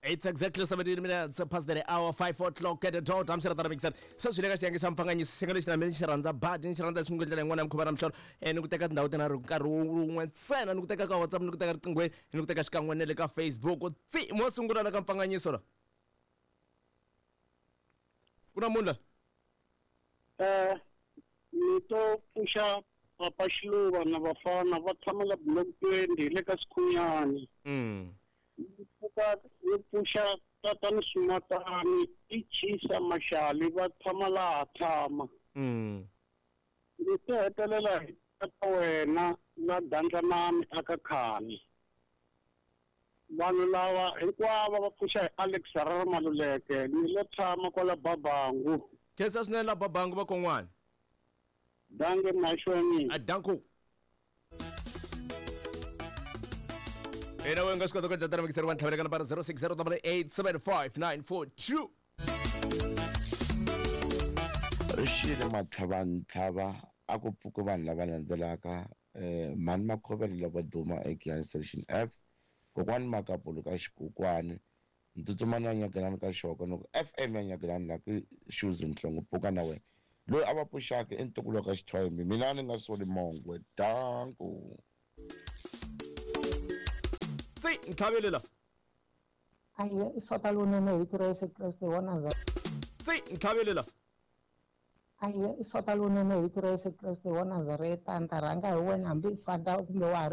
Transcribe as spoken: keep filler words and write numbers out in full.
It's exactly seventeen minutes past the hour, five o'clock at the dot. I'm Sir Mixer. Sweswi le ka xiyenge xa mpfanganyiso xiyenge lexi na mina xi rhandza badi ni xi rhandza xin'we ndlela yin'wana ya mukhuva na mihlolo eh, ni ku teka tindhawu tinharhu nkarhi wun'we ntsena ni ku teka ka WhatsApp ni ku teka riqinghweni ni ku teka xikan'we na le ka Facebook. Tsi mo sungula la ka mpfanganyiso la ku na munhu la Eh, ni to pfuxa papa Xiluva na vafana va tshama la block twenty le ka Sikhunyani. Mm. Ni pfuka ni pfuxa tatani Sumatani i Chisa Mashali va tshama laha tshama. Mm. Ni to hetelela hi tata wena la Dandlanani aka Khani. Vanhu lava hinkwavo va pfuxa hi Alex Harare Maluleke ni lo tshama kwala Babangu. Khensa swinene la Babangu va kon'wana. Danke mahlweni. A danko. Ina we nga swi kota ku endla tano mixer wa ntlhavelo ka nambara zero six zero double eight seven five nine four two. Rixile matlhavantlhava a ku pfuki vanhu lava landzelaka eh mhani Makhovelo lava duma eGiyani Station F, kokwani Makapulu ka Xikukwani, Ntsutsumani ya Nyagelani ka Xoko ni ku F M ya Nyagelani la ku Shoes Mhlongo pfuka na wena. Loyi a va pfuxaka i ntukulu wa ka Xithwayimbi, mina ni nga soli mongwe. Danko. Tsi ntlhavelo la. Aye, i sota lonene hi vito ra Yesu Kreste wa Nazareta. Tsi ntlhavelo la. Aye, i sota lonene hi vito ra Yesu Kreste wa Nazareta. Ni ta rhanga hi wena hambi i fada kumbe wa ha ri